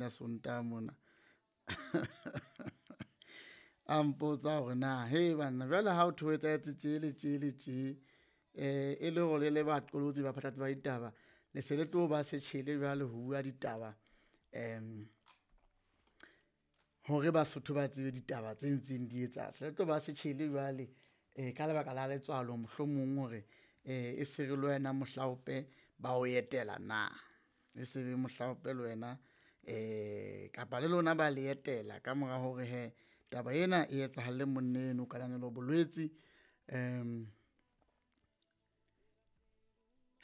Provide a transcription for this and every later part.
leng la Sontaha mona. A mpotsa hore na he banna jwale ha o thwe ho etsahetse tje le tje le tje, e le hore le le baqolotsi ba phatlalatsi ba ditaba, le se le tlo ba setjhele jwale ho bua ditaba hore Basotho ba tsebe ditaba tse ntseng di etsahala. Se le tlo ba setjhele jwale ka lebaka la letswalo mohlomong hore e se re le wena mohlaope ba o etela na, e se re mohlaope le wena kapa le lona ba le etela ka mora hore hee taba ena e etsahalle monna eno Kananelo Bolwetse.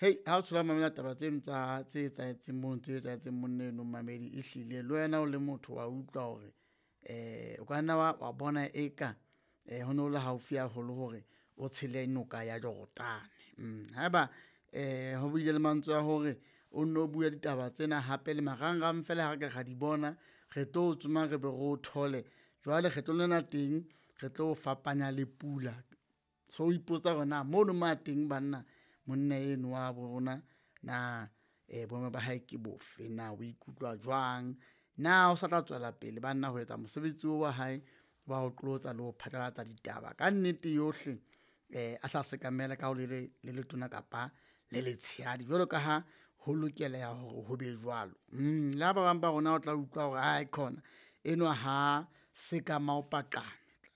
Hei ha o thola mamela taba tseno tsa tse etsahetseng mono tse etsahetseng monna eno momamedi, ehlile le wena o le motho wa utlwa hore o ka nna wa bona eka ho no le haufi haholo hore o tshele noka ya Jorodane. Haeba ho bile le mantswe a hore o nno bue ditaba tsena hape le marangrang feela ha re ka ra di bona, re tlo o tsoma re be re o thole. Jwale kgetlong lena teng re tlo o fapanya le pula. So o ipotsa hore na mono mo a teng banna monna eno wa bo rona na boemo ba hae ke bofe, na o ikutlwa jwang, na o sa tla tswela pele banna ho etsa mosebetsi oo wa hae wa ho qolotsa le ho phatlalatsa ditaba ka nnete yohle a sa sekamela ka ho le le letona kapa le letshehadi jwalo ka ha ho lokeleha hore ho be jwalo. Le ha ba bang ba rona o tla utlwa hore aekhona enwa ha sekama o paqame,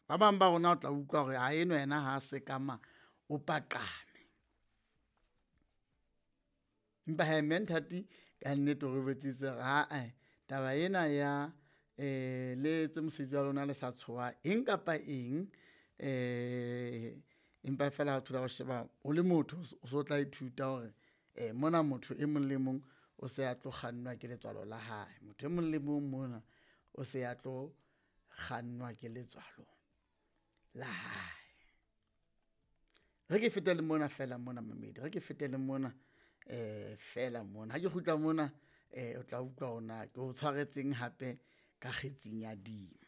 ba bang ba rona o tla utlwa hore ha enwa yena ha sekama o paqame. Empa hee Mme Nthati ka nnete o re jwetsitse hore ae taba ena ya le etse mosebetsi wa lona le sa tshoha eng kapa eng, empa feela ha o thola o sheba o le motho o so tla ithuta hore mona motho e mong le mong o se a tlo kgannwa ke letswalo la hae. Motho e mong le mong mona o se a tlo kgannwa ke letswalo la hae. Re ke fete le mona feela mona momamedi, re ke fete le mona feela mona. Ha ke kgutla mona o tla utlwa hore na ke o tshwaretseng hape ka kgetsing ya dimo.